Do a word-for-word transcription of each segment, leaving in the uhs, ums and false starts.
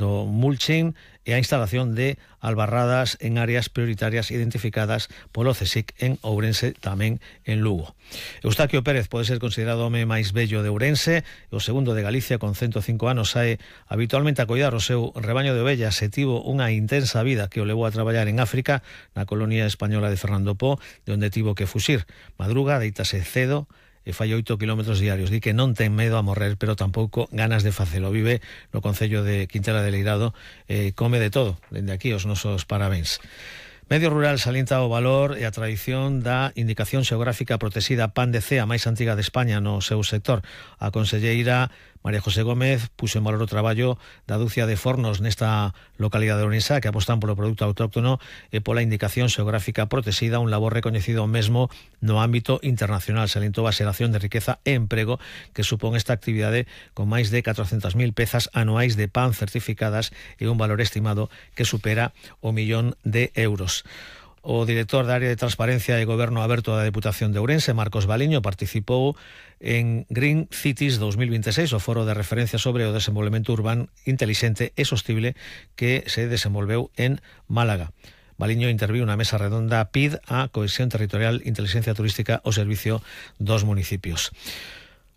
do mulching e a instalación de albarradas en áreas prioritarias identificadas polo CSIC en Ourense, tamén en Lugo. Eustaquio Pérez pode ser considerado o home máis bello de Ourense, o segundo de Galicia, con ciento cinco anos, sae habitualmente a coidar o seu rebaño de ovellas e tivo unha intensa vida que o levou a traballar en África, na colonia española de Fernando Po, de onde tivo que fuxir. Madruga, deítase cedo e fai oito kilómetros diarios. Di que non ten medo a morrer, pero tampouco ganas de facelo. Vive no concello de Quintela de Leirado, e come de todo. Dende aquí os nosos parabéns. Medio Rural salienta o valor e a tradición da indicación xeográfica protexida Pan de Cea, máis antiga de España no seu sector. A conselleira María José Gómez puxo en valor o traballo da dúcia de fornos nesta localidade de Ourense que apostan polo produto autóctono e pola indicación xeográfica protexida, un labor recoñecido mesmo no ámbito internacional. Salientou a xeración de riqueza e emprego que supón esta actividade con máis de catrocentas mil pezas anuais de pan certificadas e un valor estimado que supera o millón de euros. O director da área de Transparencia e Goberno Aberto da Deputación de Ourense, Marcos Baliño, participou en Green Cities dos mil veintiséis, o foro de referencia sobre o desenvolvemento urbano intelixente e sostible que se desenvolveu en Málaga. Baliño interviu na mesa redonda P I D a Cohesión Territorial, Inteligencia Turística ao servicio dos municipios.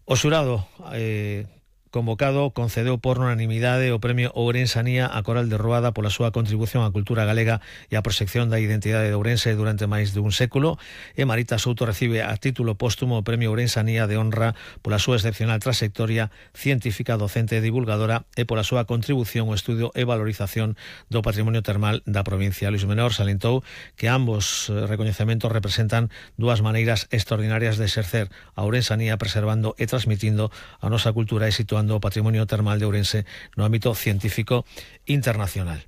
O xurado eh, convocado concedeu por unanimidade o premio Ourensanía a Coral de Ruada pola súa contribución á cultura galega e á proxección da identidade de Ourense durante máis de un século, e Marita Souto recibe a título póstumo o premio Ourensanía de honra pola súa excepcional trayectoria científica, docente e divulgadora e pola súa contribución ao estudio e valorización do patrimonio termal da provincia. Luis Menor salientou que ambos recoñecementos representan dúas maneiras extraordinarias de exercer a Ourensanía, preservando e transmitindo a nosa cultura e situando o patrimonio termal de Ourense no ámbito científico internacional.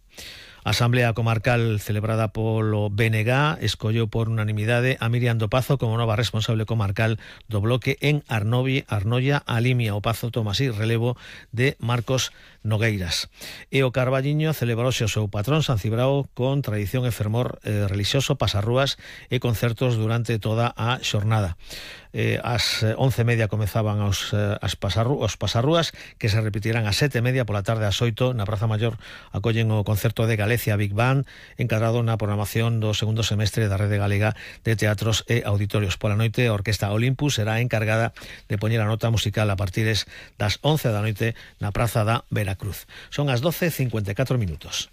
A Asamblea Comarcal celebrada polo B N G escolleu por unanimidade a Miriam do Pazo como nova responsable comarcal do bloque en Arnovi, Arnoia, a Limia. O Pazo toma así relevo de Marcos Nogueiras. E o Carballiño celebrouse o seu patrón San Cibrao con tradición e fermor eh, religioso, pasarrúas e concertos durante toda a xornada. Eh, as once e media comezaban os, eh, as pasarru, os pasarrúas, que se repetirán ás sete e media, pola tarde ás oito na Praza Maior acollen o concerto de Galicia Big Band, encargado na programación do segundo semestre da Rede Galega de Teatros e Auditorios. Pola noite, a Orquesta Olympus será encargada de poñer a nota musical a partir das once da noite na Praza da Veracruz. Son as doce e cincuenta e catro minutos.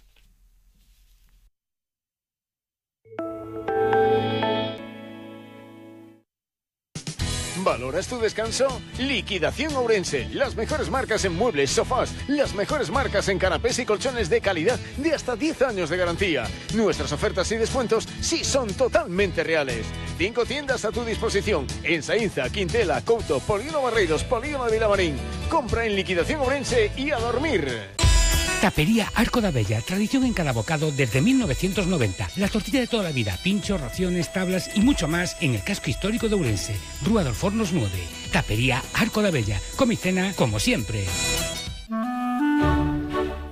¿Valoras tu descanso? Liquidación Ourense. Las mejores marcas en muebles, sofás, las mejores marcas en canapés y colchones de calidad de hasta diez años de garantía. Nuestras ofertas y descuentos sí son totalmente reales. Cinco tiendas a tu disposición en Saínza, Quintela, Couto, Polígono Barreiros, Polígono de Vilamarín. Compra en Liquidación Ourense y a dormir. Tapería Arco da Bella, tradición en cada bocado desde mil novecientos noventa. La tortilla de toda la vida, pinchos, raciones, tablas y mucho más en el casco histórico de Ourense. Rúa dos Fornos nueve. Tapería Arco da Bella. Come y cena como siempre.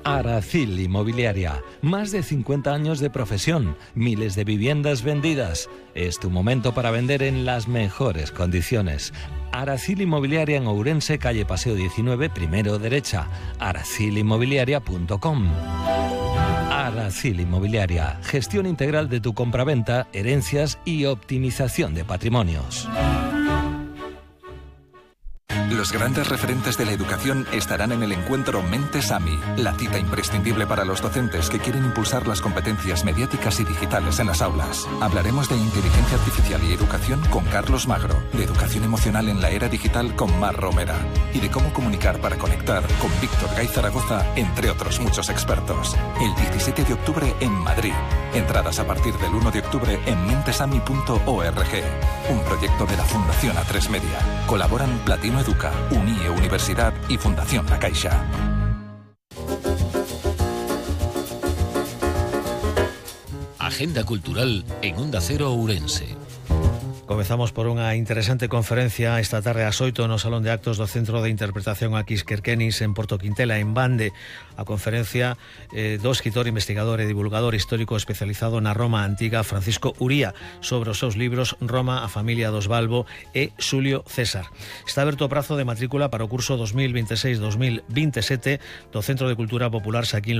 Aracil Inmobiliaria. Más de cincuenta años de profesión, miles de viviendas vendidas. Es tu momento para vender en las mejores condiciones. Aracil Inmobiliaria en Ourense, calle Paseo diecinueve, primero derecha. aracil inmobiliaria punto com. Aracil Inmobiliaria. Gestión integral de tu compraventa, herencias y optimización de patrimonios. Los grandes referentes de la educación estarán en el encuentro Mentes AMI, la cita imprescindible para los docentes que quieren impulsar las competencias mediáticas y digitales en las aulas. Hablaremos de inteligencia artificial y educación con Carlos Magro, de educación emocional en la era digital con Mar Romera y de cómo comunicar para conectar con Víctor Gay Zaragoza, entre otros muchos expertos. El diecisiete de octubre en Madrid. Entradas a partir del uno de octubre en mentesami punto org. Un proyecto de la Fundación A tres Media. Colaboran Platino Educa, Unie Universidad y Fundación La Caixa. Agenda cultural en Onda Cero Ourense. Comezamos por unha interesante conferencia esta tarde ás oito no Salón de Actos do Centro de Interpretación Aquis Querquenis en Porto Quintela, en Bande. A conferencia eh, do escritor, investigador e divulgador histórico especializado na Roma antiga, Francisco Uría, sobre os seus libros Roma, a familia dos Balbo e Xulio César. Está aberto o prazo de matrícula para o curso dos mil veintiséis dos mil veintisiete do Centro de Cultura Popular Xaquín Lorenzo